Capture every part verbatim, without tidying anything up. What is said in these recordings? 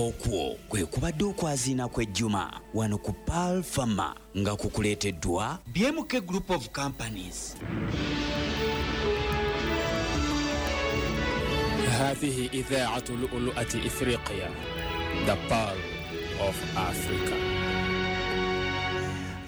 Okwo kwe kubadde okwaziina kw'ejjuma wano ku Pearl Pharma, nga kukuleeteddwa B M K Group of Companies. هذه إذاعة لؤلؤة إفريقيا، The Pearl of Africa.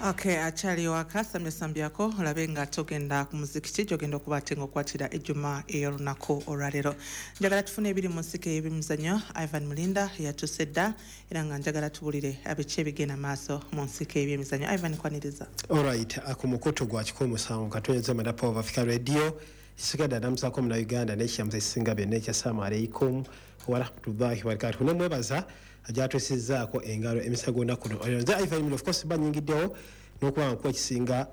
Okay, akyali waka, samyasambyako olabe nga togenda ku muzikiti gyogenda okuba ate nga okwatira ejjuma ey'olunaku olwaleero. Njagala tufune ebiri mu nsiko ey'ebyemizannyo. Ivan Mulinda yatuuse dda, era nga njagala tubulire abiki ebigenda maaso mu nsiko ey'ebyemizannyo. Ivan, kwaniriza. Alright, ku mukutu gwa kikumi musanvu katonyeza Madapo of Africa Radio, isigadde adamusaako muna Uganda n'ekyamuza ekisinga byonna ekya assalamu alaikum warahmatullahi wabarakatuh. Nemwebaza agyatwesizzaako engalo emisa gw'olunaku luno. Nze Ivan Mulinda, of course banyingiddewo n'okuba nga nkuwa ekisinga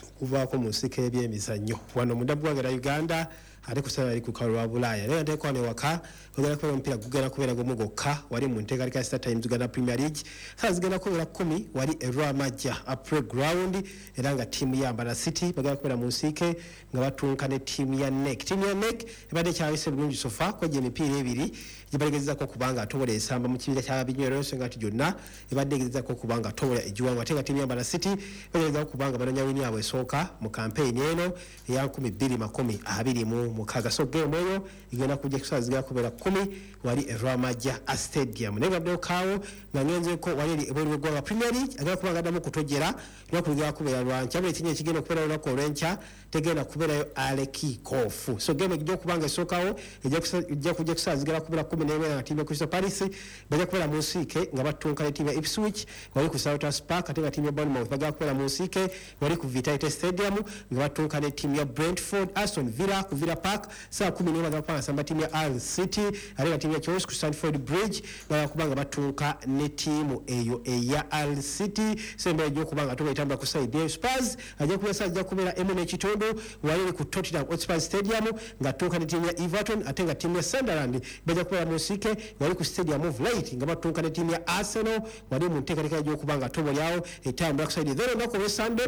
okuvaako mu nsiko y'ebyemizannyo wano munda mu ggwanga lya Uganda, ate ku ssaawa eri ku lukalu lwa Bulaaya. Naye nteekwa wano ewaka, ogenda kubeera omupiira gugenda kubeera gumu gwokka wali mu nteekateeka ya Star Times Uganda Premier League. Saawa zigenda kubeera kkumi wali e Lwamajja Playground, era nga ttiimu ya Mbarara City bagenda kubeera mu nsiike nga batunka ne ttiimu ya N E C. Ttiimu ya N E C ebadde ekyayise bulungi so far, kwejja emipiira ebiri gyebagezezaako okuba nga atobola esamba mu kibiina kya binywero, ensonga nti gyonna ebadde egezezaako okuba nga atobola egiwangu. Ate nga ttiimu ya Mbarara City bagezaako okuba nga banoonya wini yaabwe esooka mu kampeyini eno eya nkumi bbiri makumi abiri mu mukaaga. So game eyo egenda kujja kusaawa zigenda kubeera kkumi wali e Lwamajja Stadium. Naye nga kaawo nga ngenzeko wali eri ebweru w'eggwanga, Premier League agenda kuba nga addamu okutojjera. Lunaku lugenda kubeera lwankya, buli ekinyi ekigenda okubeera olunaku olw'enkya tegenda kubeerayo early kick off. So game ejja okuba nga esookawo ejja kujja kusaawa zigenda kubeera kumi n'emu, era nga ttiimu ya Crystal Palace bajja kubeera mu nsiike nga battunka ne ttiimu ya Ipswich wali ku Selhurst Park. Ate nga ttiimu ya Bournemouth bagenda kubeera mu nsiike wali ku Vitality Stadium nga battunka ne ttiimu ya Brentford. Aston Villa ku Villa Park saa kumi n'emu bagenda kuba nga basamba ttiimu ya Hull City. Ate nga ttiimu ya Chelsea ku Stamford Bridge bagenda kuba nga battunka ne ttiimu eyo eya Hull City. So embeera ejja okuba nga tuba etambula ku side eyo. Spurs ajja kubeera saa zijja kubeera emu n'ekitundu wali ku Tottenham Hotspur Stadium nga ttunka ne ttiimu ya Everton. Ate nga ttiimu ya Sunderland bajja kubeera mu nsiike wali ku Stadium of Light nga battunka ne ttiimu ya Arsenal wali mu nteekateeka egy'okuba nga tobo lyawo etambula ku side. Then olunaku olw'Sunday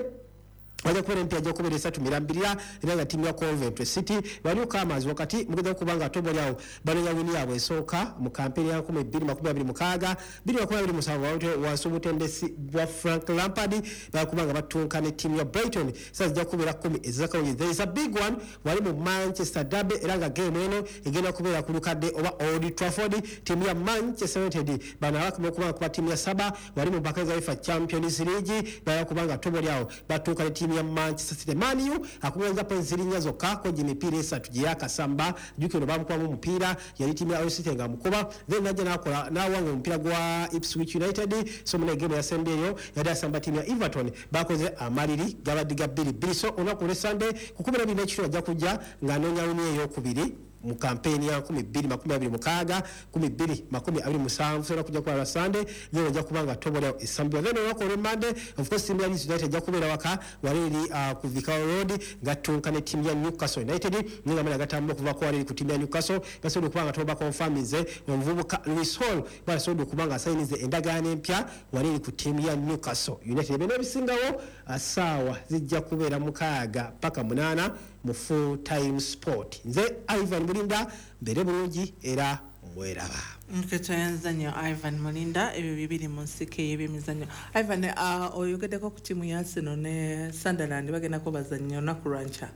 bajja kubeera emipiira ajja kubeera esatu mirambirira, era nga ttiimu ya Coventry City baliuka amaazi wakati mugeza kuba nga tobo lyawo banoonya wini yaabwe esooka mu kampeyini ya nkumi bbiri makumi abiri mukaaga, bbiri makumi abiri musanvu wansi obutendesi bwa Frank Lampard. Bakuba nga battunka ne ttiimu ya Brighton, saa zijja kubeera kkumi ezakawungi. There is a big one wali mu Manchester Derby, era nga game eno egenda kubeera ku lukadde oba Old Trafford. Ttiimu ya Manchester United bano abakoma okuba nga kuba ttiimu ya saba wali mu mpaka za UEFA Champions League, bala kuba nga tobo lyawo battuuka ne ttiimu ya Manchester City. Man U akugenza points ziri zokka kwejja emipiira esatu gye yakasamba. Jjukira bamukubamu omupiira, yali ttiimu ya Hull City nga mukuba, then najja n'akola n'awanga omupiira gwa Ipswich United. So muna game yasembyeyo yali asamba ttiimu ya Everton, bakoze amaliri gabadde ga bbiri bbiri. So olunaku olw'Sunday ku kumi n'ebiri n'ekitundu ajja kujja ng'anoonya wini ey'okubiri mu kampeyini ya nkumi bbiri makumi abiri mukaaga, nkumi bbiri makumi abiri musanvu. Sobola kujja kuba lwa Sunday, then ojja kuba nga tobolyawo esambibwa. Then olunaku olw'Monday, of course, ttiimu ya Leeds United ejja kubeera waka wali eri uh, ku Vicarage Road nga ttunka ne ttiimu ya Newcastle United. Naye nga mala gatambula okuva wali eri ku ttiimu ya Newcastle, basobodde okuba nga toba confirminze omuvubuka Lewis Hall, basobodde okuba nga asayinize endagaano empya wali eri ku ttiimu ya Newcastle United. Byonna ebisingawo uh, saawa zijja kubeera mukaaga paka munaana mu Full Time Sport. Nze Ivan Mulinda, mbeere bulungi era mweraba. Nketoyanza nnyo, Ivan Mulinda. Ebyo bibiri mu nsiko ey'ebyemizannyo. Ivan, uh, oyogeddeko ku ttiimu ya Arsenal ne Sunderland, bagendako bazannya olunaku lwankya.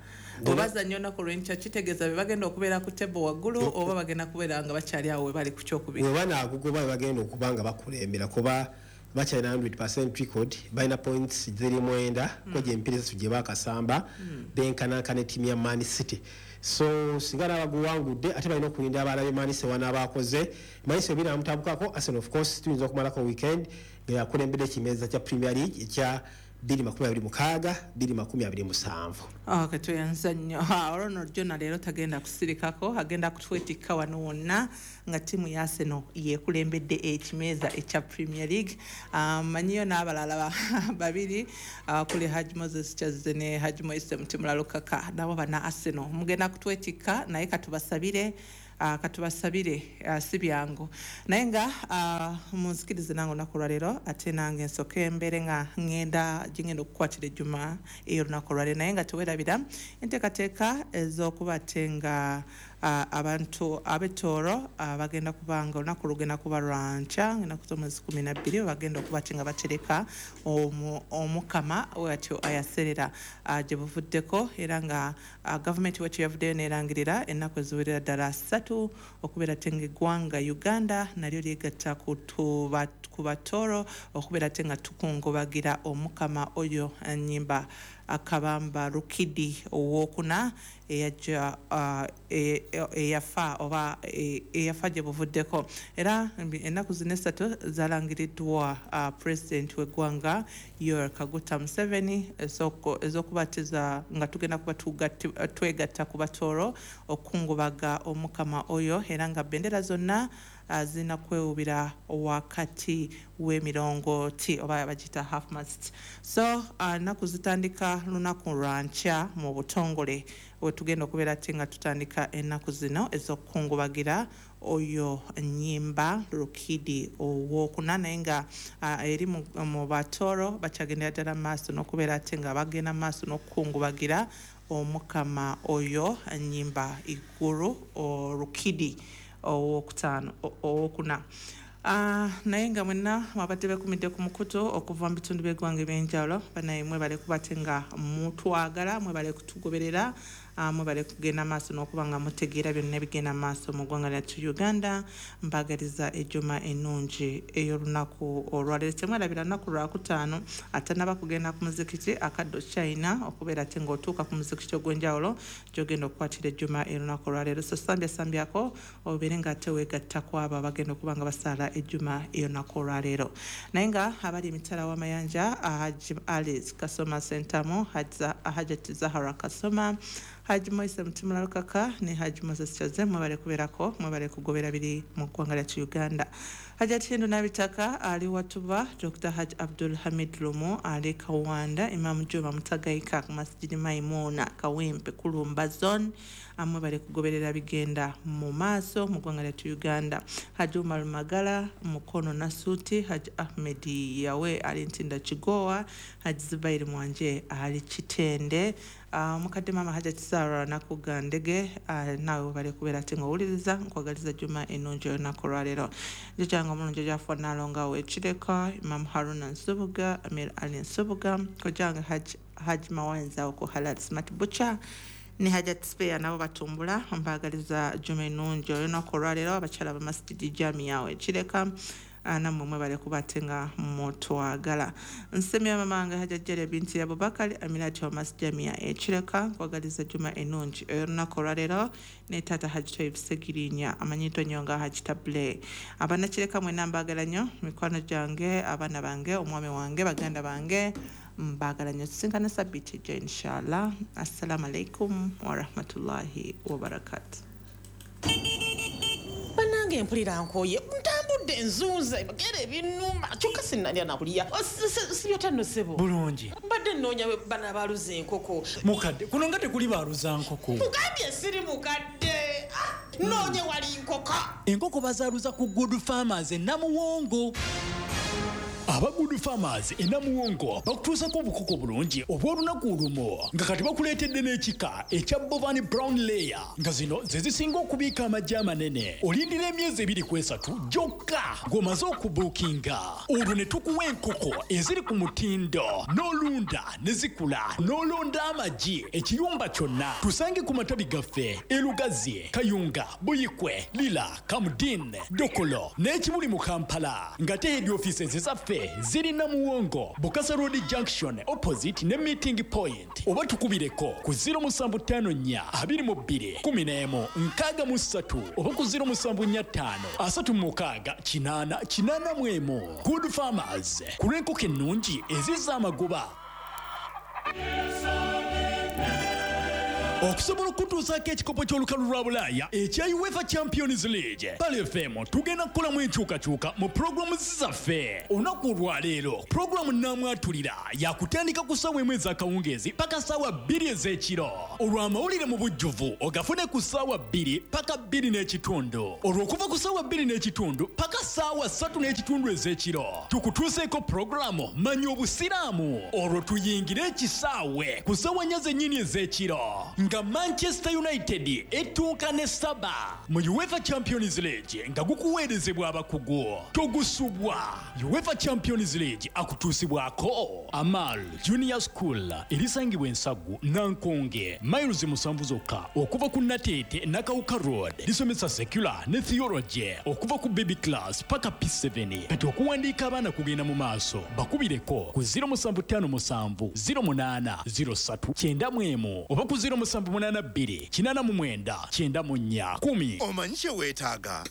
Obazannya olunaku lwenkya, kitegeeza be bagenda okubeera ku table waggulu, oba bagenda kubeera nga bakyali awo we bali ku kyokubiri? Bwe banaagugoba, bagenda okuba nga bakulembera, kuba bakyalina kikumi record, balina points ziri mwenda kwegyo emipiira esatu gye bakasamba, benkanankana ettiimu ya Man City. So singa nabaguwangudde, ate balina okulinda abalabye Man City wanaabakoze. Man City ebiri amutabukako Arsenal, of course tuyinza okumalako weekend nga yakulembedde ekimeeza kya Premier League ekya bbiri makumi abiri mukaaga, bbiri makumi abiri musanvu. Okay, tweyanza nnyo. Olwo nno Jona leero tagenda kusirikako, agenda kutwetikka wano wonna nga ttiimu ya Arsenal yekulembedde ekimeeza ekya Premier League. Manyiyo n'abalala babiri kuli Haji Moses Kyazze ne Haji Moise Mutimula Lukaka, nabo bana Arsenal mugenda kutwetikka, naye katubasabire, uh, katubasabire, uh, si byangu. Naye nga uh, munzikirize nange olunaku olwaleero ate nange nsooke embeere nga ŋŋenda gye okukwatira ejjuma ey'olunaku olwaleero, naye nga tewerabira enteekateeka ez'okuba ate nga uh, abantu ab'Etooro uh, bagenda kubanga olunaku lugenda kuba lwankya, ennaku z'omwezi kumi na bbiri, bagenda okuba nga batereka omukama watyo ayaserera uh, gye buvuddeko. Era nga uh, gavumenti wetyo yavuddeyo neerangirira ennaku eziwerera ddala ssatu okubeera ate ng'eggwanga Uganda nalyo lyegatta ku Batooro okubeera ate nga tukungubagira omukama oyo Nyimba Akabamba Rukidi owokuna eyajja eyafa oba eyafa gye buvuddeko. Era ennaku zino essatu zalangiriddwa Pulezidenti w'eggwanga Yoweri Kaguta Museveni ez'okubatiza nga tugenda kuba twegatta ku Batooro okukungubaga omukama oyo, era nga bendera zonna zirina kwewubira wakati w'emirongooti oba bagiyita half mast. So ennaku zitandika lunaku lwankya mu butongole wetugenda okubeera ate nga tutandika ennaku zino ez'okukungubagira oyo Nyimba Rukidi owokuna. Naye nga eri mu Batooro bakyagendera ddala maaso n'okubeera ate nga bagenda maaso n'okukungubagira omukama oyo Nyimba Iguru Rukidi owokutaano owokuna. Uh, naye nga mwenna mwabadde bekumidde ku mukutu okuva mu bitundu by'eggwanga ebyenjawulo, banaye mwebale kuba nga mutwagala, mwebale kutugoberera, uh, mwebale kugenda maaso n'okuba nga mutegeera byonna ebigenda maaso mu ggwanga lyattu Uganda. Mbagaliza ejjuma ennungi ey'olunaku olwaleero. Temwerabira lunaku lwakutaano, atannaba kugenda ku muzikiti akaddo China okubeera ate ng'otuuka ku muzikiti ogw'enjawulo gy'ogenda okukwatira ejjuma ey'olunaku olwaleero. So sambyassambyako obeere ng'ate weegatta ku abo abagenda okuba nga basaala ejjuma ey'olunaku olwaleero. Naye nga abali emitala w'amayanja, Haji Alice Kasoma Sentamu, Hajati Zahara Kasoma, Haji Moise Mutimula Lukaka ne Haji Moses Kyaze, mwebale kubeerako, mwebale kugobera biri mu ggwanga lyattu Uganda. Hajati Hindu Nabitaka ali Watuba, Doctor Haji Abdul Hamid Lumu ali Kawanda, Imam Juma Mutagaika ku Masjidi Maimuna Kawempe Kulumba Zone, mwebale kugoberera bigenda mu maaso mu ggwanga lyattu Uganda. Haji Umar Magala Mukono Nasuti, Haji Ahmed Yawe ali Ntinda Kigowa, Haji Zubairi Mwanje ali Kitende, Uh, mukadde mama Hajati Sarah Nakugandege, uh, naawe bale kubeera ate ng'owuliriza. Nkwagaliza juma ennungi olunaku olwaleero. Jjajjange omulungi ojjafa Nalonga w'Ekireka, Imam Haruna Nsubuga, Amir Ali Nsubuga, kojjange Haji Haji Mawanza oku Halal Smart Butcher ne Hajati Spare nabo batumbula. Mbagaliza juma ennungi olunaku olwaleero. Abakyala ba Masjidi Jamia w'Ekireka, nammwe mwebale kuba ate nga mutwagala. Nsemya mama wange Hajati Jalia binti Abubakari Aminati wa Masjid Jamia Ekireka, nkwagaliza juma ennungi olunaku olwaleero. Ne taata Haji Toyib Segirinya amanyiddwa nnyo nga Haji Table. Abannakireka mwenna mbaagala nnyo, mikwano gyange, abaana bange, omwami wange, baganda bange, mbaagala nnyo. Tusinkane sabbiiti ejja inshallah. Assalamu alaikum warahmatullahi wabarakatuh. Bannange mpulira nkooye, ntambudde nzunze bagere ebinuma kyokka sinnalya nakulya. Sibyotanno ssebo bulungi, mbadde nnoonya bana baaluza enkoko. Mukadde kuno nga tekuli baaluza nkoko. Mugambye siri mukadde, nnoonye wali nkoko. Enkoko bazaaluza ku Good Farmers e Namuwongo. Aba Good Farmers e Namuwongo bakutuusako obukoko bulungi obw'olunaku olumu, nga kati bakuleetedde n'ekika ekya Bovani Brown Layer, nga zino ze zisinga okubiika amagi amanene. Olindira emyezi ebiri ku esatu gyokka ng'omaze okubuukinga, olwo ne tukuwa enkoko eziri ku mutindo n'olunda ne zikula n'olonda amagi ekiyumba kyonna. Tusange ku matabi gaffe e Lugazi, Kayunga, Buyikwe, Lira, Kamudin, Dokolo n'ekibuli mu Kampala, nga te head offices zaffe ziri Namuwongo, Bukasa Road Junction opposite ne meeting point, oba tukubireko ku zero musanvu ttaano nnya abiri mu bbiri kumi n'emu nkaaga mu ssatu oba ku zero musanvu nnya ttaano asatu mu mukaaga kinaana kinaana mu emu. Good Farmers, ku lw'enkoko ennungi ezizza amagoba. Okusobola okutuusaako ekikopo ky'olukalu lwa Bulaaya ekya UEFA Champions League, Pearl F M tugenda kukolamu enkyukakyuka mu pulogulaamu zaffe. Olunaku olwaleero pulogulaamu Nnaamwatulira yakutandika ku ssaawa emu ez'akawungeezi paka ssaawa bbiri ez'ekiro. Olw'amawulire mu bujjuvu ogafune ku ssaawa bbiri paka bbiri n'ekitundu. Olw'okuva ku ssaawa bbiri n'ekitundu paka ssaawa ssatu n'ekitundu ez'ekiro tukutuuseeko pulogulaamu Manya Obusiraamu, olwo tuyingire ekisaawe ku ssaawa nnya zennyini ez'ekiro. Nga Manchester United etuuka ne saba mu UEFA Champions League, nga gukuweerezebwa abakugu. Togusubwa. UEFA Champions League akutuusibwako Amal Junior School, erisangibwa Ensagu Nankonge, miles musanvu zokka okuva ku Nateete Nakawuka Road. Lisomesa secular ne theology okuva ku baby class paka P seven. Kati okuwandiika abaana kugenda mu maaso. Bakubireko ku zero musanvu ttaano musanvu zero munaana zero ssatu kyenda mu emu oba ku zero musanvu munaana bbiri kinaana mu mwenda kyenda mu nnya kkumi. Omanyi kye weetaaga?